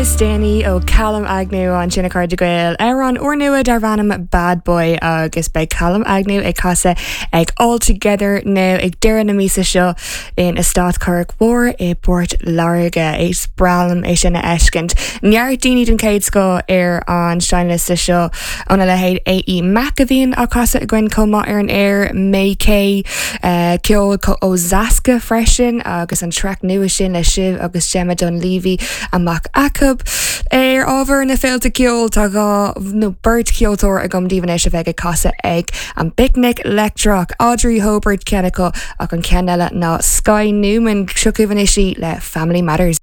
is déanaí ó Callum Agnew ansin a chairde Gael, amhrán úrnua darb ainm Bad Boy agus beidh Callum Agnew ag casadh ag All Together Now ag deireadh na míosa seo in Eastát Churrach Mhór i bPort Láirge. Is breá liom é sin a fheiscint. Neart daoine den chéad scoth ar an seinnliosta seo óna leithéid AE Mac a bhíonn á casadh againn chomh maith ar an aer, May Kay, ceol ó Zaska freisin agus an traic nua sin le Shiv agus Gemma Dunleavy amach acu. Ar ábhar na féilte ceoil tá dhá nó beirt cheoltóir agam daoibh anois a bheidh ag casadh ag an bPicnic Leictreach, Audrey Hobert ceann acu ach an ceann eile ná Skye Newman. Seo chugaibh anois í le Family Matters.